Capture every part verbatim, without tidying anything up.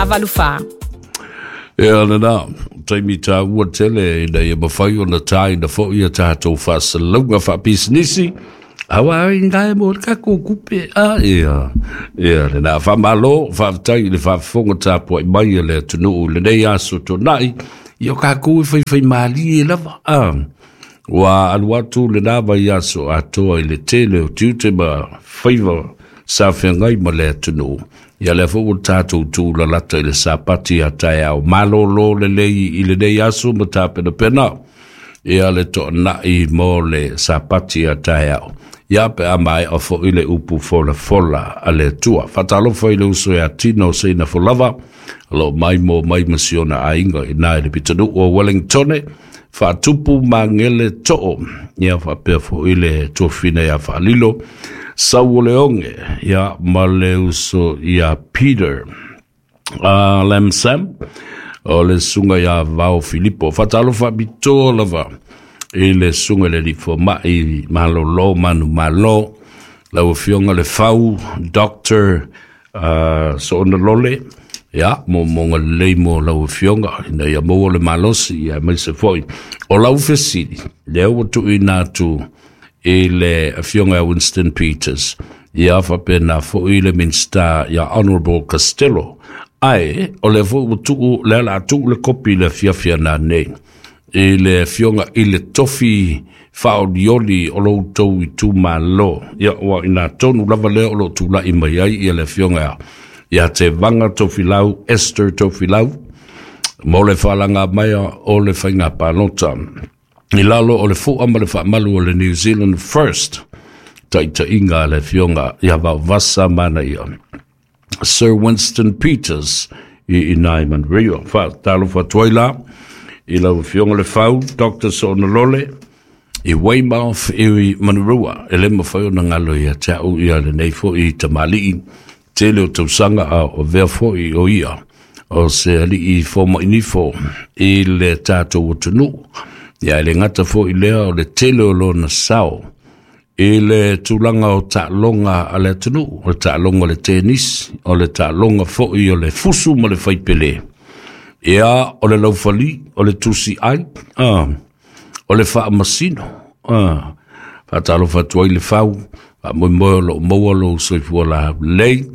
valu fa. Ia lena, taimi tāua tele ina ia mawhai o na tā ina fo ia tātou whaasalauga whaapisinisi. Awa ai ngai mo le kako kupe. Ah, ia, ia lena, whamalo, whaatai le whaafonga tāpua i mai le atunuu le nei aso tōnai. Ia kākou e whai whai maali e lava. Ah, ua alu atu le nā vai aso atoa i le tele o tiute ma whaiva sa whengai ma le atunuu. Ia lea fo ua tātou tū lalata i le sapati a tae au malolo le lei i le nei aso ma tāpena pena. Ia le to nai mo le sapati a tae au. Ia pe a mai o fo i le upu fola fola a le tua. Whatalofa i le uso e a tino se ina folava. Lo mai mo mai masiona a inga i nai le pitanu o Wellingtone. Whaatupu mangele to'o. Ia whapea fo i le tuafina ia whaalilo. Sau o le onge, ia ma le uso ia Peter uh, Lamsam, o le sunga ia Vao Filipo. Whatalofa bito lava i le sunga le lifo mai malolo manu malo. Lau fionga le fau, Doctor uh, Soona Lole, ia mo monga lei mo lau fionga, ina ia mo le malosi, ia mai se foi. O lau fesili, lea ua tuuina atu i le afioga Winston Peters, ia whapena fo i le Minsta ia Honorable Costello. Ai, o le fo ua tuu, le ala tuu le kopi le fiafia nā nei. I le afioga i le tofi whaolioli o lou tau i tū malo. Ia ua ina tonu lava lea o lo tūlai mai ai ia le afioga ia te Vanga Tofilau, Esther Tofilau, mo le whalanga maia o le whainga pālota. I lalo o le fua ma le whaamalu o le New Zealand First, taita inga le fionga ia vasa mana ia. Sir Winston Peters i inai Manrio. Wha talo whatuai la, i lau fionga le whau, Doctor Soona Lole, i Weymouth i Manurua. E le mawhai o na ngalo ia te au ia le nei fo i tamalii, tele o tausanga a o vea fo i o ia, o se ali i fo mainifo i le tātou atunu. Ia le ngata fo i lea o le tele o lona sao i le tūlanga o ta'alonga a le atunuu, o le ta'alonga o le tenisi, o le ta'alonga fo'i o le fusu ma le faipele. Ia o le laufali, o le tusi ai, ah, o le faamasino, ah, faatalofa atu ai le fau, faamoemoe o loo maua lou soifua laulelei,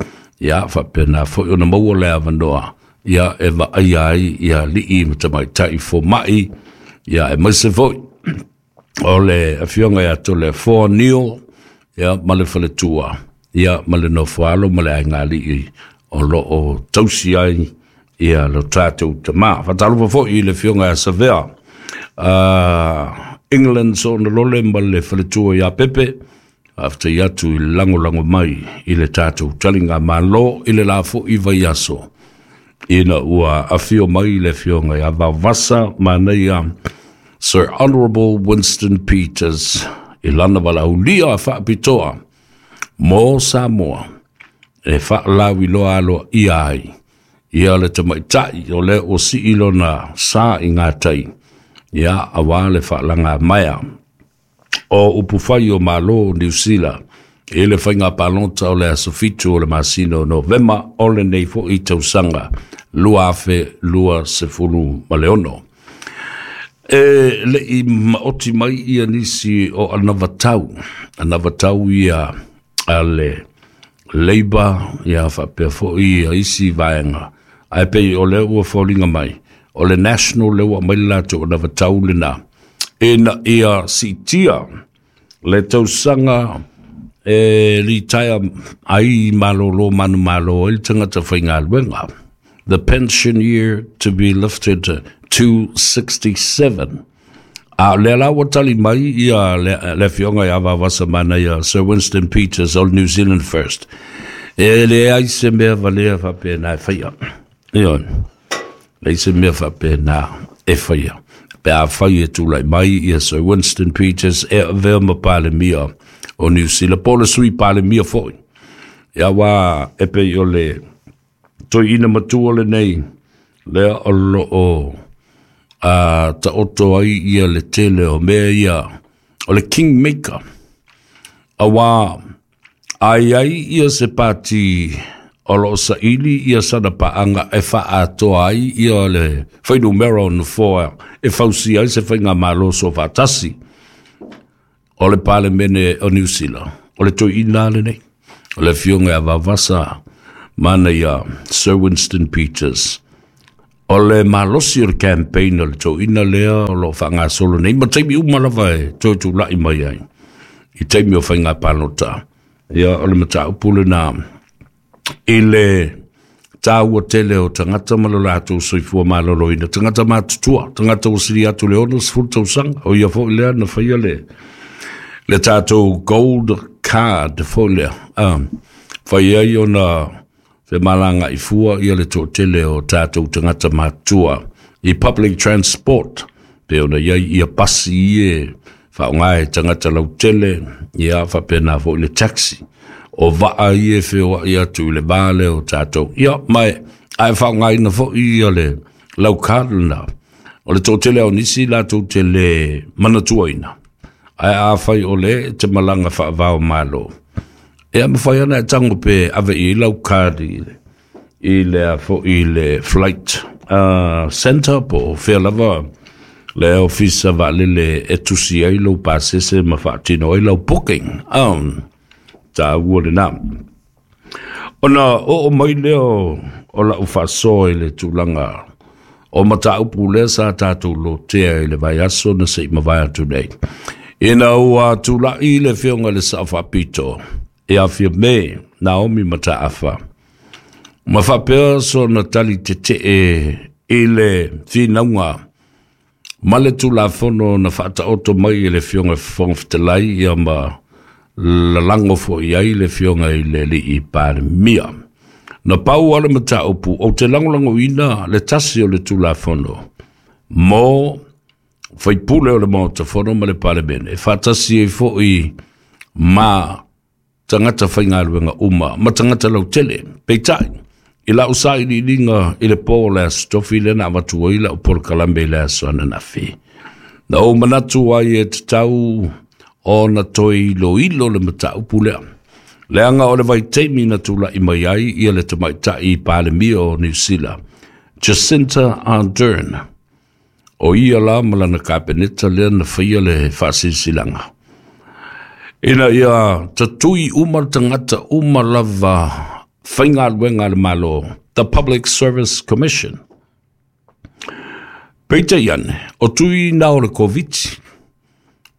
ia faapena fo'i ona maua le avanoa, ia e vaaia ai ia alii ma tamaitai foma'i, ia e maise foi o le afioga ia tole four Neil, ia ma le faletua, ia ma le nofoalo ma le aigalii o loo tausi ai ia lo tātou tamā. Faatalofa foi i le afioga ia Savea uh, England Soona Lole ma le faletua ia Pepe, after atu i langolango mai i le tātou talinga malo i le la fo'i vaiaso. Ina ua afio mai le afioga ia Vaovasa manaia Sir Honorable Winston Peters i lana walaulia whaapitoa mo Samoa e whaalawi loa aloa ia ai. Ia le tamaitai o le o si ilona sa i ngā tai. Ia awa le whaalanga maia o upuwhai o malo New Zealand e le whainga palonta o le asofitu o le masino Novema o le nei fo i tausanga lua afe lua sefulu ma le ono. E le i maoti mai ia nisi o anavatau, anavatau ia a le Labour, ia whapea fo ia isi vaenga. Ai pei o le ua fōlinga mai, o le National le ua mai lato anavatau le nā. E na ia sitia le tausanga e li taia ai malolo manu malo e le tangata whaingaluenga. The pension year to be lifted to sixty-seven. A le la ua tali mai ia le, le fionga ia vavasa mana ia Sir Winston Peters o New Zealand First. E le ai se mea valea whapena e whaia. Ia, le se mea whapena e whaia. Pe a whai e tūlai mai ia Sir Winston Peters e avea ma pale mia o New Zealand. Po le sui pale mia foi. Ia wā e pe o le toi ina matua le nei lea o lo o a ta oto ai ia le tele o mea ia o le kingmaker. A wā ai ai ia se pāti O loo saili ia sana paaga e faaatoa ai ia le fuainumera o nofoa e fausia ai se faigamalo soofaatasi o le Palemene o Niu Sila. O le toeaina lenei, o le afioga ia Vaovasa Manaia Sir Winston Peters. O le malosi o le campaign o le toeaina lea o loo faagasolo nei ma taimi uma lava e toe tulai mai ai i taimi o faiga palota. Ia, o le mataupu lena i le taua tele o tagata ma lo latou soifua maloloina, tagata matutua, tagata ua sili atu le ono sefulu tausaga. O ia foi lea na faia le le tatou gold card foi lea, um, fai ai ona femalagaai fua ia le toatele o tatou tagata matua i public transport, pe ona iai ia pasi ie faaaoga e tagata lautele, ia faapena foi le taxi o vaa ia e feoai atu i le va lea o tatou. Ia mai ae faaaogaina foi ia le lau card lena. O le toatele o nisi latou te le manatuaina, ae afai o le e te malaga faavao malo, e mafai ana e tago pe ave i lau card i le i le foi i le flight uh, center po o fea lava le ofisa vaalele e tusi ai lou pasese ma faatino ai lau booking. um, taua lena. Ona oo mai lea o, o lau faasoa i le tulaga o mataupu lea sa tatou lotea i le vaiaso na se i mavae atu nei, ina ua tulai le afioga i le Sao Faapito e Afia Me Naomi Mataafa ma faapea sona tali tetee i le finauga ma le Tulafono na faataoto mai e le afioga Fofoga Fetalai, ia ma lalago foi ai le afioga i le alii Palemia. Na pau ale mataupu ou te lagolagoina le tasi o le Tulafono mo faipule o le Maota Fono ma le Palemene e faatasi ai foi ma tagata faigaluega uma ma tagata lautele. Peitai, i lau sailiiliga i le po o le Aso Tofi lea na avatu ai lau polokalame i le aso ananafi, na ou manatu ai e tatau ona toe iloilo le mataupu lea, leaga o le vaitaimi na tulai mai ai ia le tamaitai Palemia o Niu Sila, Jacinta Ardern, o ia la ma lana kapeneta lea na faia le faasilasilaga ina ia tatui uma le tagata uma lava faigaluega a le Malo, the Public Service Commission. Peitai ane, o tui na o le Koviti.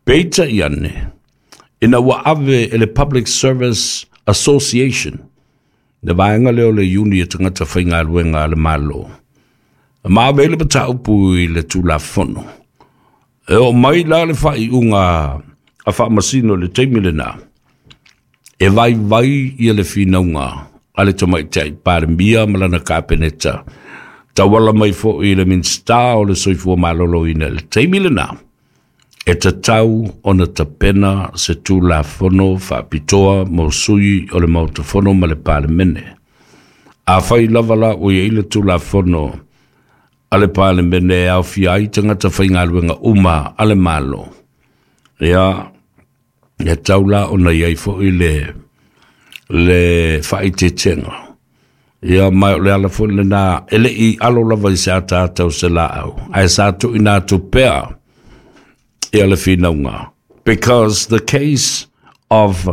Peitai ane, ina ua ave e le Public Service Association, le vaega lea o le iuni e tagata faigaluega a le Malo, ma ave le mataupu i le Tulafono. E o mai la le faaiuga a faamasino le taimi lena, e vaivai ia le finauga a le tamaitai Palemia ma lana kapeneta, tauala mai foi i le Minisita o le Soifua Maloloina i le taimi lena, e tatau ona tapena se Tulafono faapitoa mo sui o le Maota Fono ma le Palemene. Afai lava la ua iai le Tulafono a le Palemene e aofia ai tagata faigaluega uma a le Malo, ia e tau la ona iai foi le le faaeteetega. Ia mai o le ala foi lena e lei alo lava i se ataata o se laau, ae sa tuuina atu pea ia le finauga. Because the case of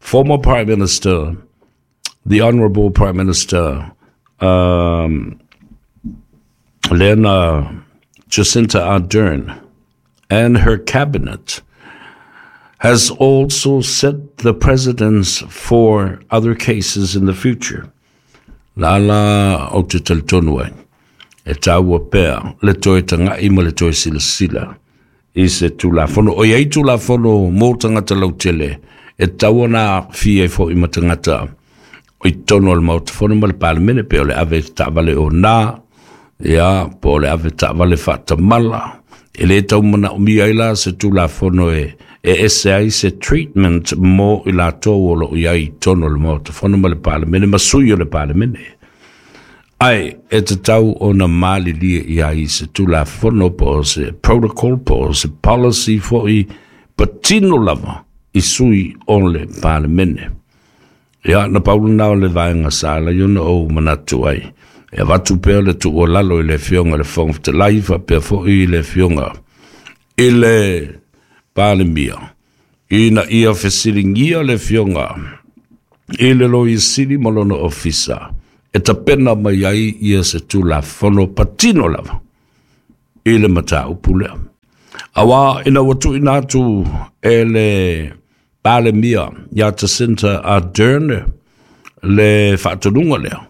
former Prime Minister, the Honorable Prime Minister, um, Lena Jacinta Ardern, and her cabinet has also set the precedence for other cases in the future. La la o te talitonu ai, e taua pea le toe taga'i ma le toe silasila i se Tulafono. O iai Tulafono mo tagata lautele, e tatau ona aafia ai foi ma tagata i totonu o le Maota Fono ma le Palemene, pe o le ave taavale o na, ia, po o le ave taavale faatamala. E le tau manaomia ai la se Tulafono e e ese ai se treatment mo i latou o loo i ai i totonu o le Maota Fono ma le Palemene ma sui o le Palemene. Ae e tatau ona malilie i ai se Tulafono po o se protocol po o se policy foi patino lava i sui o le Palemene. Ia, na pau lena o le vaega sa ala ai ona ou manatu ai e avatu pea le tuualalo i le Afioga i le Fofoga Fetalai faapea foi i le Afioga i le Palemia ina ia fesiligia le Afioga i le Loia Sili ma lona ofisa e tapena mai ai ia se Tulafono patino lava i le mataupu lea. Auā ina ua tuuina atu e le Palemia ia Jacinta Ardern le faatonuga lea,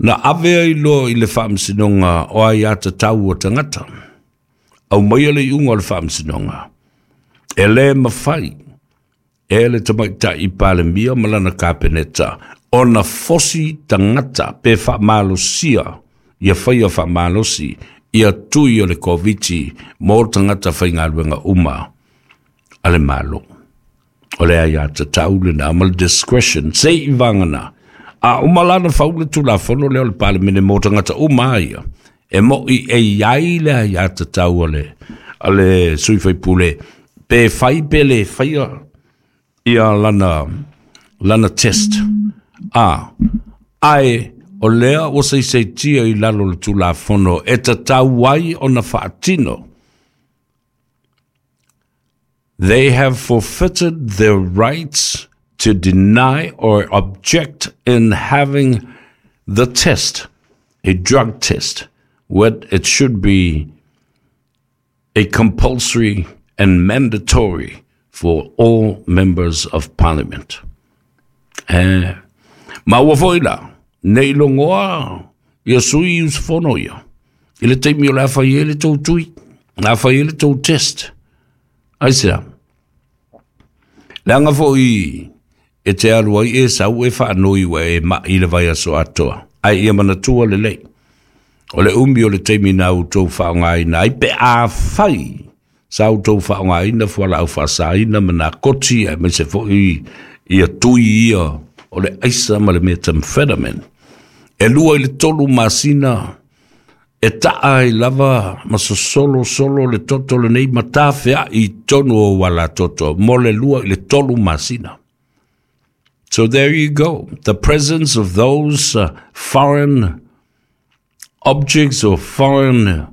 na ave ai loa i le Faamasinoga o Aiatatau a Tagata, aumaia le iuga o le Faamasinoga, e lē mafai e le Tamaitai Palemia ma lana Kapeneta ona fosi tagata pe faamalosia ia faia faamalosi ia tui o le Koviti mo tagata faigaluega uma a le Malo. O le aiatatau lena ma le discretion se i vagana a uma la na fau le Tulafono lea o le Palemene mo tagata uma ia, e mo'i e i ai le aiatatau a le, a le sui faipule pe fai pe le faia ia lana, lana test. A, ae o lea ua saisaitia i lalo o le Tulafono e tatau ai ona faatino. They have forfeited their rights to deny or object in having the test, a drug test, what it should be a compulsory and mandatory for all members of parliament. Eh, ma ua foi la, ne i logoa ia sui usufono ia, i le taimi o le a fai ai le tou tui, le a fai ai le tou test. Aisea? Leaga foi e te alu ai e sau e faanoi ua e ma'i le vaiaso atoa, ae ia manatua lelei, o le umi o le taimi na outou faaaogaina ai pe afai sa outou faaaogaina fualaau faasaina ma nakoti aemaise foi ia tui ia o le aisa ma le methamphetamine, e lua i le tolu masina e ta'a ai lava ma sosolosolo le toto lenei ma tafea'i i totonu o ou alatoto mo le lua i le tolu masina. So there you go. The presence of those uh, foreign objects or foreign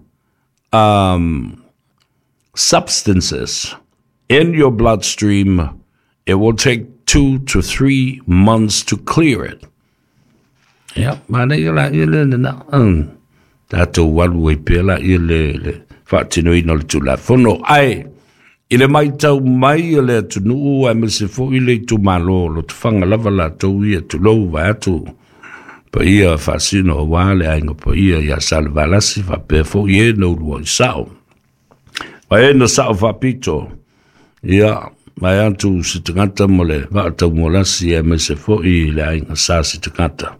um, substances in your bloodstream, it will take two to three months to clear it. Ia, manaia la ia le lena. Um, tatou alu ai pea la ia le, le faatinoina o le Tulafono. Ae, i le matau mai a le atunuu aemaise foi le itumalo o Lotofaga lava latou ia tulou vaeatu paia faasino aua le aiga paia ia Salevalasi faapea foi e na uluai sao. Ma e na sao faapito, ia, vaeatu se tagata mo le vaataumualasi aemaise foi le aiga sa se tagata.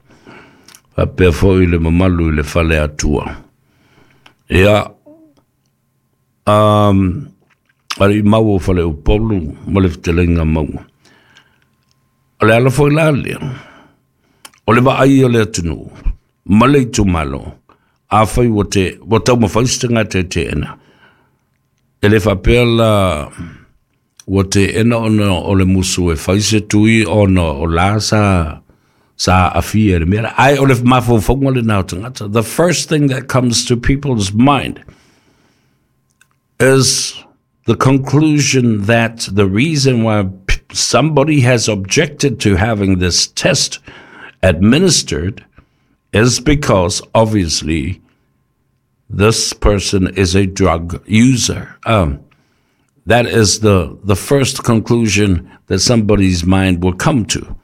Faapea foi le mamalu i le fale Atua. Ia, um, alii mau o Faleupolu ma le fetalaiga Maua. O le ala foi la lea, o le vaai o le atunuu ma le itumalo, afai ua te, ua taumafai se tagata e teena, e le faapea la ua teena ona o le musu e fai se tui ona o la sa sa aafia i le mea lea. Ae o le mafaufauga lena o tagata. The first thing that comes to people's mind is the conclusion that the reason why somebody has objected to having this test administered is because obviously this person is a drug user. Um, that is the, the first conclusion that somebody's mind will come to.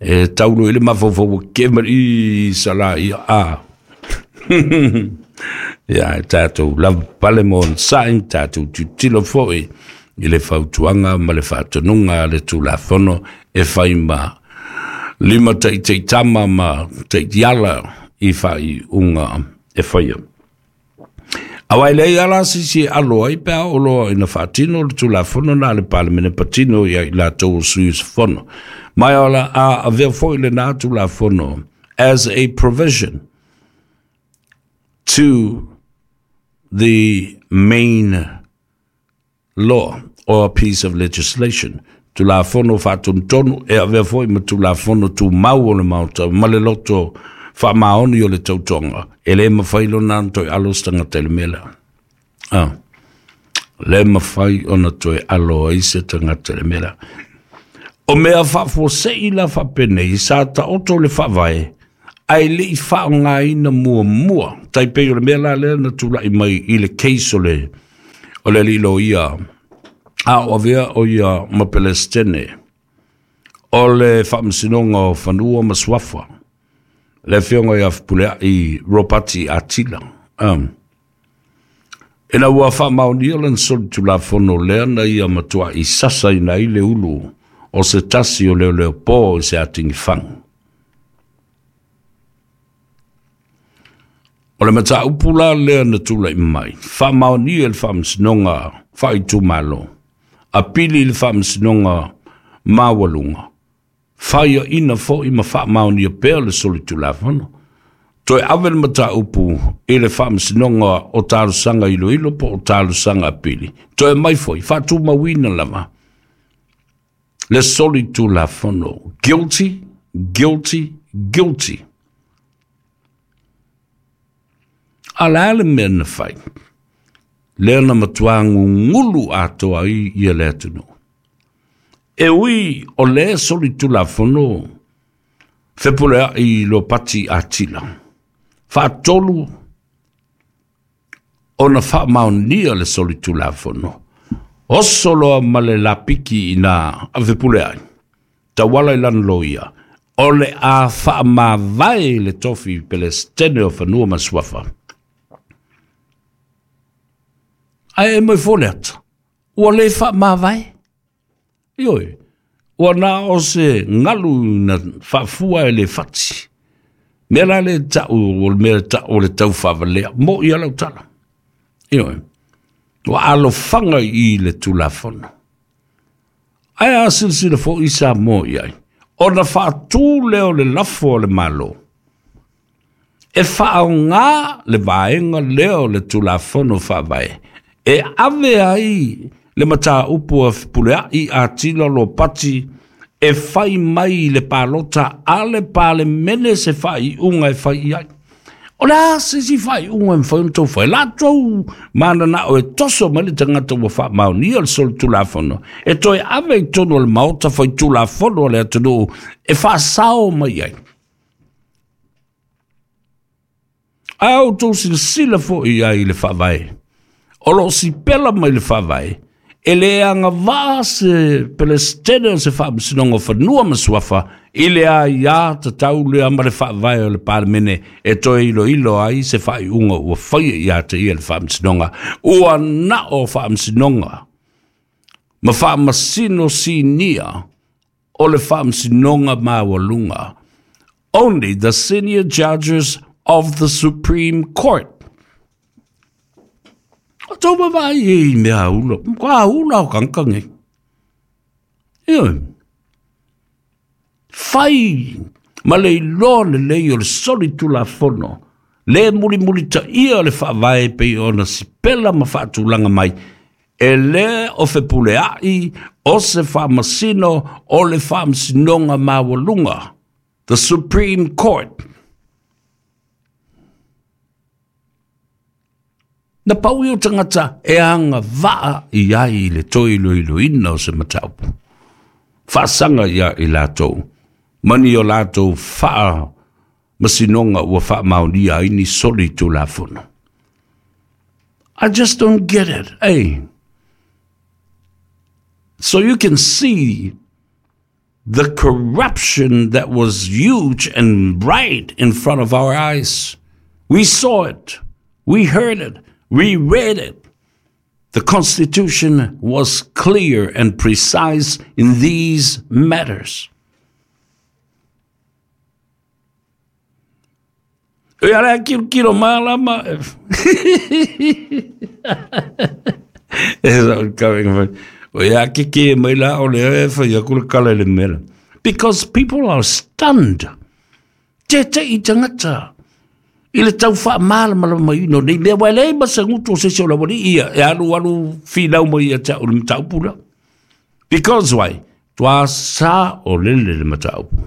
E taulu i le mafaufau ua ke ma i sa la ia a. Ia, e tatou lava pale mo onosai, tatou tilotilo foi i le fautuaga ma le faatonuga a le Tulafono e fai ma lima taitaitama ma taitiala i faaiuga e faia. Aua e leai lava la se isi e alo ai pe a oo loa ina faatino le Tulafono na a le Palemene patino ia i latou o sui usufono. Ma o le a avea foi lena Tulafono as a provision to the main law or a piece of legislation. Tulafono faatonutonu e avea foi ma Tulafono tumau o le Maota ma le loto faamaoni o le tautoga e lē mafai lona ona toe alo se tagata i le mea lea. Ah. Le mafai ona toe alo ai se tagata i le mea lea. O mea faafuasei la faapenei sa taoto le faavae ae le'i faaaogāina muamua tai pei o le mea la lea na tula'i mai i le case o le o le alii loia a o avea o ia ma Pelestene o le Faamasinoga o Fanua ma Suafa, le afioga ia Fepulea'i Ropati Atila. Um. Ina ua faamaonia lana solitulafono lea na ia matua'i sasaina ai le ulu o se tasi o leoleopō i se atigifagu. O le mataupu la lea na tula'i mai, faamaonia le Faamasinoga faaitumalo, apili i le Faamasinoga Maualuga, faiaina fo'i ma faamaonia pea le solitulafono. Toe ave le mataupu i le Faamasinoga o Talosaga Iloilo po o Talosaga Apili. Toe mai foi, faatumauina lava le solitulafono. Guilty, guilty, guilty. A le a le mea na fai? Lea na matuā gugulu atoa ai ia le atunuu. E ui o le solitulafono Fepulea'i Lopati Atila. Faatolu ona faamaonia le solitulafono. Oso loa ma le lapiki ina a Fepulea'i. Tauala i lana loia. O le a faamavae le tofi Pelestene o Fanua ma Suafa. Ae e mai fo le ata. Ua le faamavae. Ioe, ua na o se galu na faafua e le fati. Mea la le ta'u o le mea ta'u o le taufaavalea mo ia lau tala. Ioe, ua alofaga i le Tulafono. Ae a silasila fo'i Samoa i ai, ona faatū lea o le lafo o le Malo e faaogā le vaega lea o le Tulafono Faavae e ave ai le mataupu a Fepulea'i Atila Lopati e fai mai le palota a le Palemene se faaiuga e fai i ai. O le a se isi faaiuga e mafai ona tou fai? Latou mananao e toso mai le tagata ua faamaonia le solitulafono e toe ave i totonu o le Maota faitulafono a le atunuu e faasao mai ai. Ae a outou silasila fo'i ai i le faavae, o loo sipela mai le faavae, e le agavaa se Pelestene o se Faamasinoga o Fanua ma Suafa i le aiā tatau lea ma le faavae o le Palemene e toe iloilo ai se faaiuga ua faia ia te ia le Faamasinoga. Ua nao Faamasinoga ma faamasino sinia o le Faamasinoga Maualuga. Only the senior judges of the Supreme Court. O tau vaavaai e i mea aula, ka aula o kankange. Ioe. Fai ma le iloa lelei o le solitulafono, le mulimulitaia o le faavae pei ona sipela ma faatulaga mai, e lē o Fepulea'i o se faamasino o le Faamasinoga Maualuga, the Supreme Court. Na pau ia o tagata e agavaa i ai i le toe iloiloina o se mataupu. Faasaga ia i latou, mani o latou faamasinoga ua faamaonia ai ni solitulafono. I just don't get it, eh? So you can see the corruption that was huge and bright in front of our eyes. We saw it. We heard it. We read it. The Constitution was clear and precise in these matters. E ala kilo kilo malama. Because people are stunned. Te te i tangata. I le tau faamalamalamaina o nei mea, ua e leai ma se gutu o se isi o le aualii ia e alu alu finau mai ia te au le mataupu lea. Because why? Tua sa o lele le mataupu.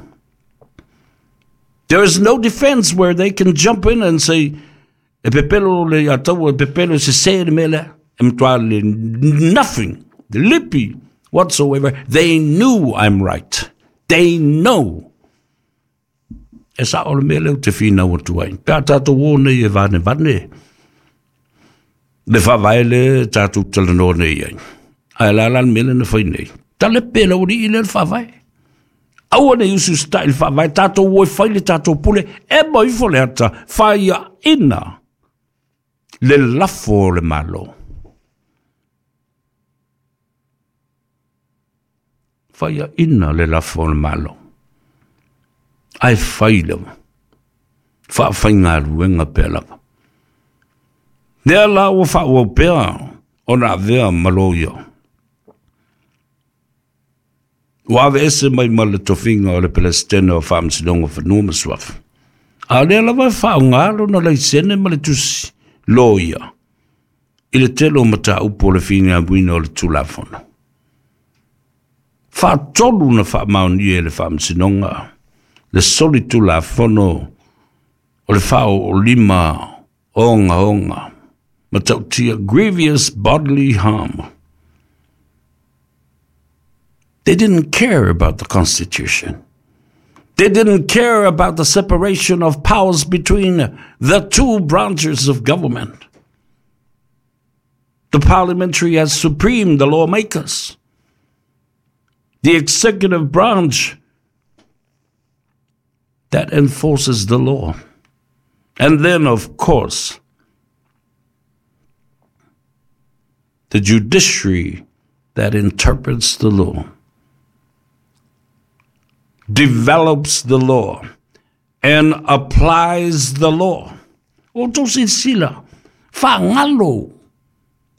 There is no defense where they can jump in and say, e pepelo le ataua, e pepelo se se le mele, e mtua le nothing, the lipi whatsoever. They knew I'm right. They know. E sa o le mele o te whina o tuai. Pea tātou o nei e vane vane. Le whavae le tātou talanoa nei ai. Ai la la mele na whai nei. Ta le pela o ni i le whavae. Aua nei usu style whavae. Tātou o e whai le tātou pule. E mai fo le ata. Whaia ina. Le lafo le malo. Whaia ina le lafo le malo. Ai whai lewa. Wha whai ngā ruenga pēr lava. Nea la ua wha ua pēr o nā vea maloia. Ua ave ese mai ma le tofinga o le Palestina o whaamsinonga whanua masuafa. A lea lava e wha ngalo na leisene ma le tusi loia. I le telo mata upo le whina wina o le tulafono. Wha tolu na wha maoni e le whaamsinonga. Le soli tulafono o le whao o lima onga onga. Matautia grievous bodily harm. They didn't care about the Constitution. They didn't care about the separation of powers between the two branches of government. The parliamentary as supreme, the lawmakers. The executive branch that enforces the law. And then, of course, the judiciary that interprets the law, develops the law, and applies the law. O tō sila, whangalo,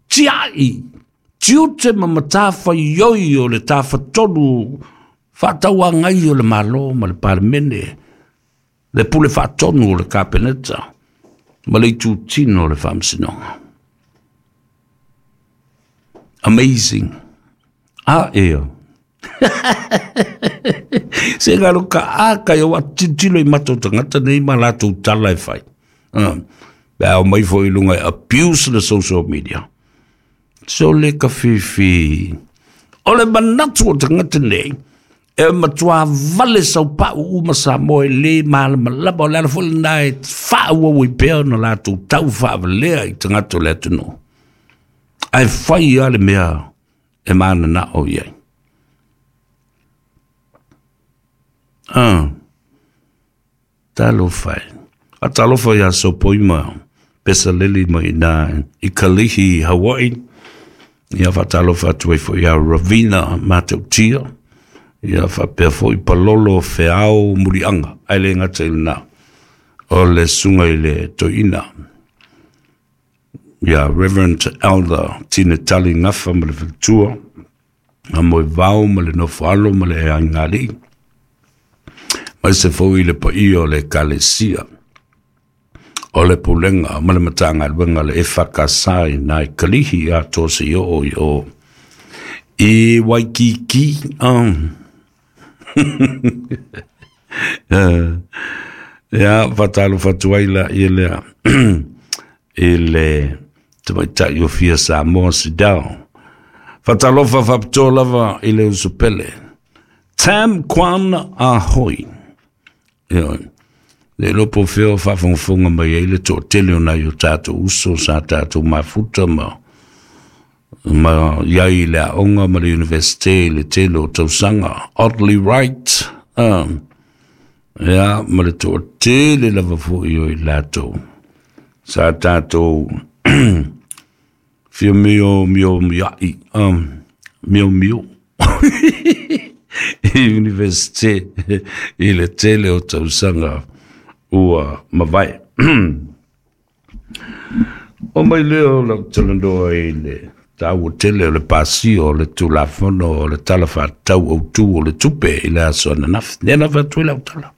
tiai, tiute ma matawha ioi o le tawha tonu, whataua ngai o le malo ma le parmene, le pule whatonu o le kapeneta, ma le itutino o le whamsinonga. Amazing. Ah, eo. Se ngaro ka aka yo atitilo i mato tangata nei ma latou tala e whai. Uh, Pea o mai fo i lunga e abuse the social media. So le ka fifi. O le manatu o tangata nei, e matua vale sau pau uma sa moe le malama lapa o le ala fo le nai wha ua ui pea na latou tau whaawalea i tangata o le atuno. Ai whai a le mea e mana na o iai. Ah, talofa. A talofa ia sopoima, pesa lili mai nā i Kalihi, Hawaii. Ia wha talofa atu e fo ia Ravina Matautia. Ia wha pea fo i Palolo Feau Murianga. Ai le ngata i nā. O le sunga i le toina. Ia Reverend Elder Tine Tali Ngafa ma le Whitua. A moe vau ma le nofoalo ma le ea ngali. Mai se fo i le paia o le kalesia. O le pulenga ma le matanga luenga le e whakasai nai kalihi a tō se o i o. I Waikiki. Um. uh, ia whatalo whatuaila i lea. I le tamaitai o fia Samoa Sidao. Whatalofa whapitoa lava i le usupele. Tam Kwan a hoi. Ia, le lopo feo whawhongfonga mai ei le tō tele o nai o tātou uso sa tātou mafuta ma ma iai le aonga ma le universite le tele o tausanga. Oddly Wright. Um, ia, ma le tō tele lava fo i o i lātou. Sa tātou fia mio mio miai. Um, mio mio. I universite i le tele o tausanga ua mawai. O mai leo lau talandoa i le tāua tele o le pasio o le tulafono o le tala whātau au tū o le tupe i le aso ananafi. Nena whātui lau tala.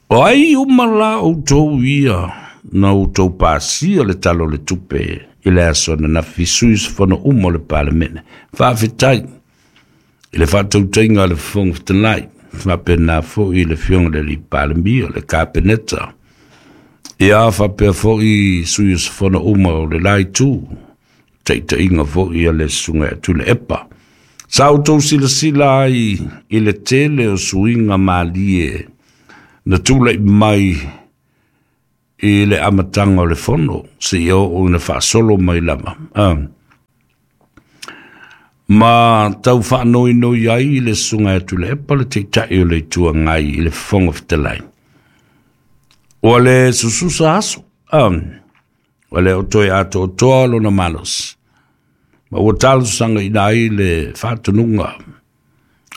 O ai umala o tau ia na o tau pasio le tala o le tupe i le aso ananafi suis whana umo le palemene. Whawhitai I le faatautaiga a le Fofoga Fetalai, faapena foʻi le Afioga i le Alii Palemia, le Kapeneta, ia faapea foʻi sui usufono uma o le la itu, taitaiga foʻi a le Susuga ia Tuilaepa. Sa outou silasila ai i le tele o suiga malie na tulaʻi mai i le amataga o le fono seia oo ina faasolo mai lava a ma tau faanoinoi ai le Susuga ia Tuilaepa, le Taitai o le Itu Agai, i le Fofoga Fetalai. Ua le sususa aso, a ua le o toe atoatoa lona malosi, ma ua talosagaina ai le faatonuga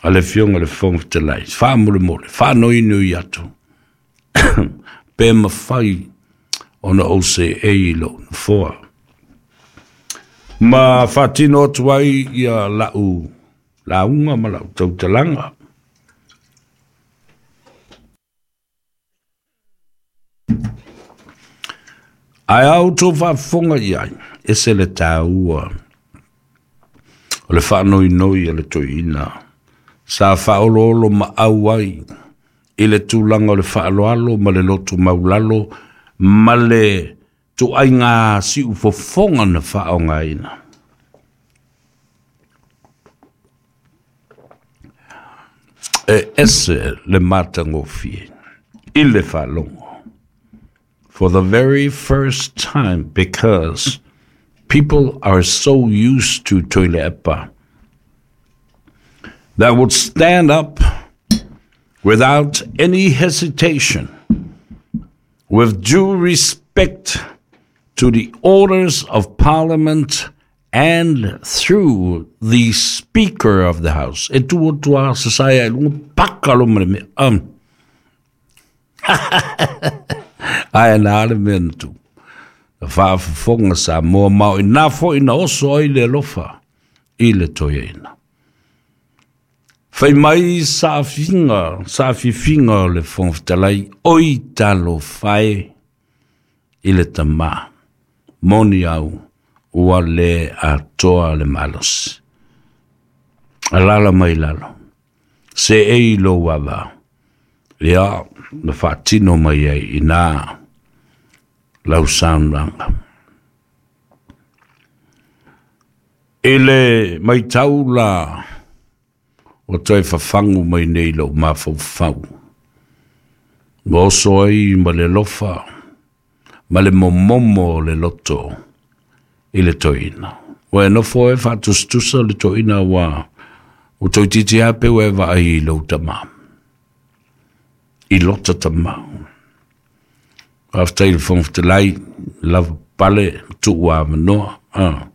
a le Afioga i le Fofoga Fetalai, faamolemole, faanoinoi atu pe mafai ona ou seei i lou nofoa ma faatino atu ai ia lau lauga ma lau tautalaga. Ae a outou faafofoga i ai, ese le tāua o le faanoinoi a le toeaina sa faaoloolo maau ai i le tulaga o le faaaloalo ma le loto maulalo ma le tuaiga siufofoga na faaaogaina. E ese le matagofie i le faalogo. For the very first time, because people are so used to Tuilaepa that would stand up without any hesitation, with due respect to the orders of Parliament and through the Speaker of the House. E tu atu a sasae ai luga paka lo ma le mea. Um. Ae na ale mea na tu. Na faafofoga Samoa ma o ina foʻi na oso ai le alofa i le toeaina. Fai mai saafiga, saafifiga o le Fofoga Fetalai, oi talofa e i le tamā, moni au ua le atoa le malosi. Alala mai lalo, seei lou ava, ia na faatino mai ai ina lau saunoaga. I le maitau la ua toe fafagu mai nei lou mafaufau, ua oso ai ma le alofa ma le momomo o le loto i le toeaina. Ua e nofo e faatusatusa le toeaina ua ua toeitiiti lava pe ua e vaai i lou tamā, i lota tamā. Faafetai i le Fofoga Fetalai, lava pale ma tuu avanoa. Ah.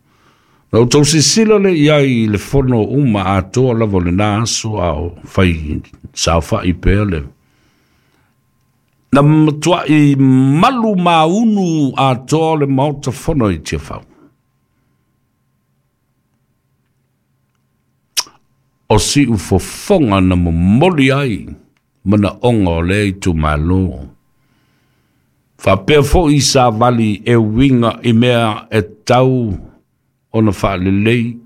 Na outou silasila lea i ai i le fono uma atoa lava o lena aso a o fai saofai pea le na matuai malu maunu atoa le Maota Fono i Tiafau. O siufofoga na momoli ai manaoga o lea itumalo. Faapea foʻi savali e uiga i mea e tau ona faalelei,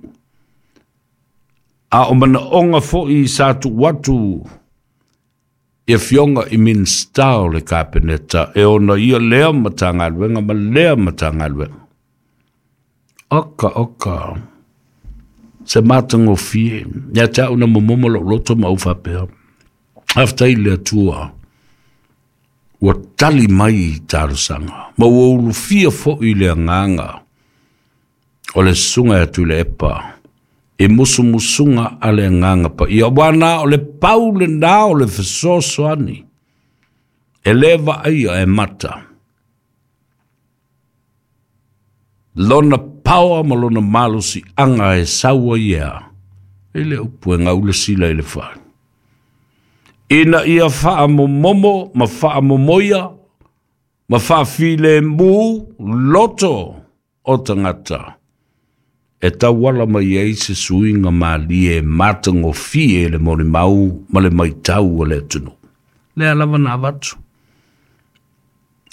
a o manaoga foʻi sa tuu atu i afioga i Minisita o le Kapeneta e ona ia lea Matagaluega ma lea Matagaluega. Oka oka se matagofie ia te au na momomo lou loto ma ou faapea, faafetai i le Atua ua tali mai i talosaga ma ua ulufia foʻi le agaga o le Susuga ia Tuilaepa i musumusuga a le Agaga Paia, aua na o le pau lenā o le fesoasoani e lē vaaia e mata lona paoa ma lona malosiaga e sau ai ea i le upu e gaula sila i le fale, ina ia faamomomo ma faamomoia ma faafilemu loto o tagata e tauala mai ai se suiga malie e matagofie le molimau ma le maitau o le atunuu. Lea lava na avatu.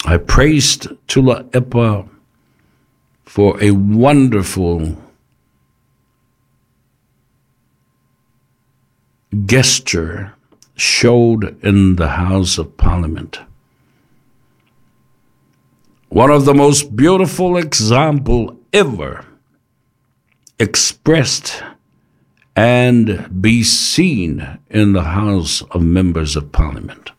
I praised Tuilaepa for a wonderful gesture showed in the House of Parliament. One of the most beautiful example ever expressed and be seen in the House of Members of Parliament.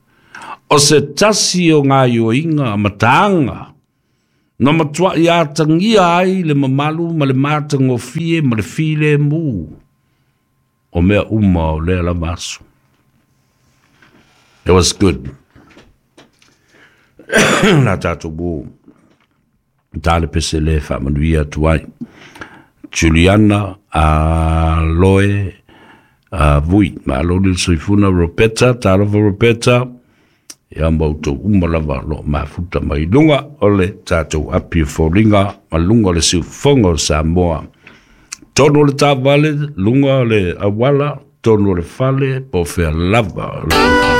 O se tasi o ngā ioinga mataanga, na matua i atangia ai le mamalu ma le matagofie ma le filemu o mea uma o lea lava aso. It was good. La tātou mū. Tā le pese le whaamanuia atu ai. Juliana a Loe a Vui. Ma alo ni soifuna Ropeta, talofa Ropeta. Ia mautou uma lava lo mafuta mai lunga o le tātou api foliga ma lunga o le siufoga o Samoa. Tonu o le tāvale, lunga o le awala, tonu o le fale, po fea lava.